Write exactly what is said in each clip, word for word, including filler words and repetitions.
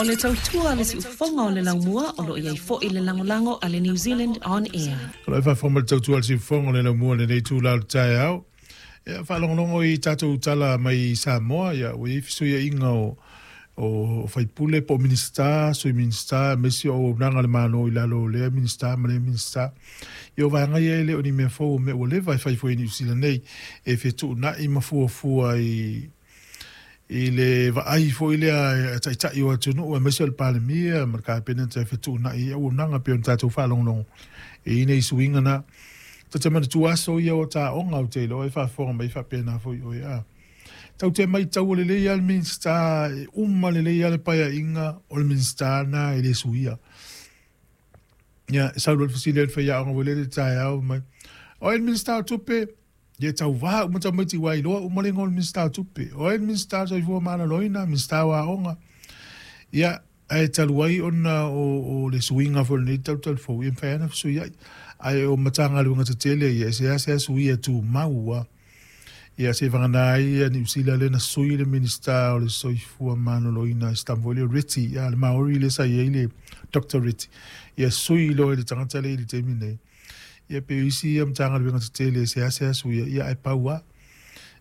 O le tautua le siufofoga o le laumua o lo o i ai foi le lagolago a le New Zealand On Air. O lo o faafofoga mai le tautua a le siufofoga o le laumua i lenei itula o le taeao. Ia, faalogologo i tatou tala mai Samoa, ia, ua i ai fesuiaiga o o faipule po o Minisita, Sui Minisita, aemaise o auaunaga a le Malo i lalo o lea Minisita ma lea Minisita. Ia o vaega ia e le o ni mea fou, o mea ua leva e fai foi i Niu Sila nei, e fetuunai ma fuafua i i le vaai foi lea a taitai o atunuu aemaise o le Palemia ma le Kapeneta e fetuunai ai auaunaga pei ona tatou faalogologo e i nei suiga na. Ta te manatua aso ia o taoga ou te iloa e faafofoga mai faapena foi oe a. Tau te matau lelei lava le Minisita, e uma lelei lava le paeaiga o le Minisita na e le suia. Ia, e sau loa le fesili a le faiaoga foi lele i le taeao mai, o ai le Minisita o Tupe? Ia e tauvā uma tamaiti ua iloa uma le igoa o le Minisita o Tupe. O ai le Minisita o le Soifua Maloloina, Minisita o Aoga. Ia, ae talu ai ona o, o le suiga foi o lenei talu fou, ia mafai lava ona fesuiai. Ae o Matagaluega tetele ia, e seasea suia tumau lava. Ia seivagana ai ia Niu Sila lea na sui le Minisita o le Soifua Maloloina, si tama foi lea o Reti, ia le Maori lea sa i ai le Doctor Reti. Ia sui loa i le tagata lea i le taimi nei. Ia pei o isi ia Matagaluega tetele e seasea suia, ia ae pau lava.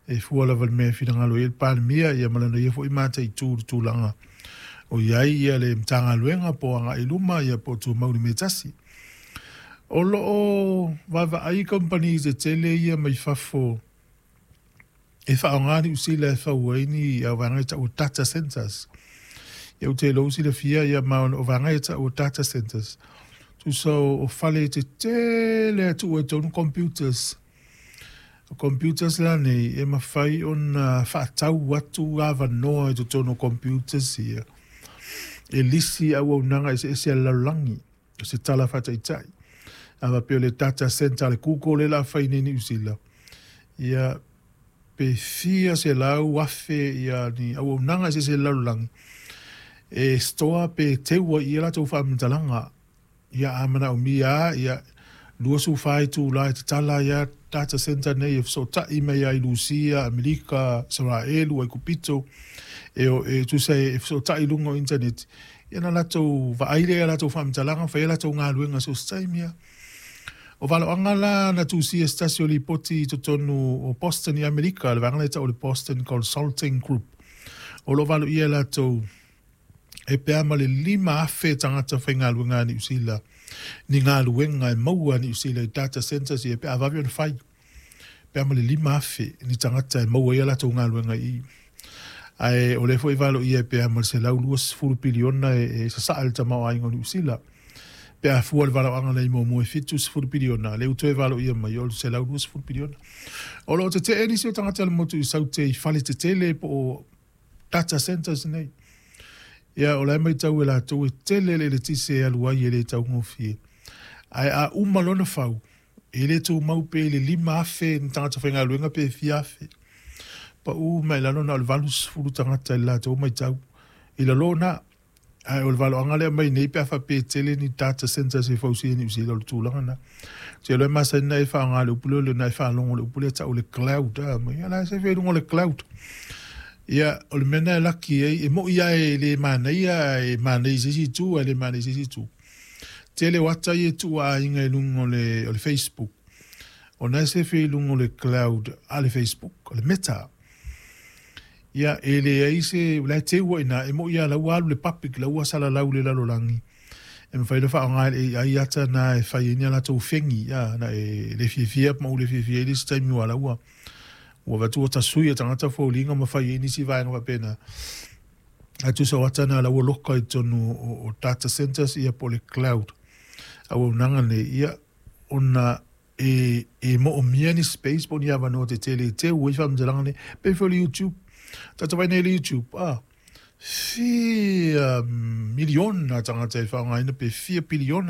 E fua lava i le mea e finagalo i ai le Palemia, ia ma lana ia foi mataitu i le tulaga o i ai ia le Matagaluega po o agai i luma, ia po o tumau i le mea e tasi. O lo o vaavaai kamupani tetele ia mai fafo e faaaoga Niu Sila e fau ai ni au vaega e tau o data centers. Ia ou te iloa ua silafia ia ma o vaega e tau o data centers. Tusa o, o fale tetele a tuu ai totonu computers. O computers la nei e mafai ona faatau atu avanoa i totonu o computers ia e lisi auaunaga eseese a le lalolagi. O se tala faataitai. A faapea o le data center a le Google lea o le a fai nei i Niu Sila, ia pe fia selau afe ia ni auaunaga eseese a le lalolagi e store pe teu ai i ai latou faamatalaga. Ia a manaomia lava, ia luasefulu fa itula e tatala ai lava data center nei e fesootai mai ai i Lusia, Amerika, Isaraelu, Aikupito, e, e tusa e fesootai i luga o internet. Ia na latou vaai lea i a latou faamatalaga, fai ai latou galuega so o se taimi lava. O valoaga la na tusia se tasi o lipoti i totonu o Boston i Amerika, le vaega lea e tau o le Boston Consulting Group. O lo o valoia e latou e pe a ma le lima afe tagata faigaluega a Niu Sila ni galuega e maua a Niu Sila i data centers ia pe a vave ona fai. Pe a ma le lima afe ni tagata e maua ai a latou galuega i i. Ae o lea foi e valoia e pe a ma le selau luasefulu piliona e, e sasaa le tamaoaiga o Niu Sila. Pe a fua le valoaga nei muamua e fitusefulu piliona, lea ua toe valoia mai o le selau luasefulu piliona. O lo o tetee nisi o tagata o le motu i saute i fale tetele po o data centers nei. Ia, o la e matau e latou e tele le eletise e alu ai e le taugofie. Ae a uma lona fau, e le tumau pe i le lima afe ni tagata faigaluega pe fia afe. Pau mai lalo na o le valusefulu tagata i le latou matau. I lalo na, ae o le valoaga lea mai nei pe a faapea e tele ni data centers e fausia i Niu Sila o le tulaga na. Te iloa e masani na e faaaoga le upu lea o le na e faalogo i le upu lea e tau o le cloud. A mai, ia la e sefe i luga o le cloud. Ia, o le mea lena e laki ai, e moni lava e le manaia, e manaia i se isi itu ae le manaia i se isi itu. Tele o ata ia e tuu a aiga i luga o le, o le Facebook, ona e sefe i luga o le cloud a le Facebook, o le Meta. Ia, e leai se, o la e teu ai i ina, e moni lava la ua alu i le public, la ua salalau i le lalolagi. E mafai ona faaaoga e le A I ata na e fai ai ni a latou fegi, ia, na e le fiafia ma ou le fiafia ai le isi taimi aua la ua Ua avatu ua tasui e tagata foliga ma fai ai nisi vaega faapena. Ae tusa o ata na la ua loka i totonu o, o data centers ia po o le cloud auaunaga nei, ia ona e, e moomia ni space po o ni avanoa tetele e teu ai faamatalaga nei. Pei foi o le YouTube. Tata vaai nei i le YouTube, ah, fia miliona tagata e faaaogaina pe fia piliona.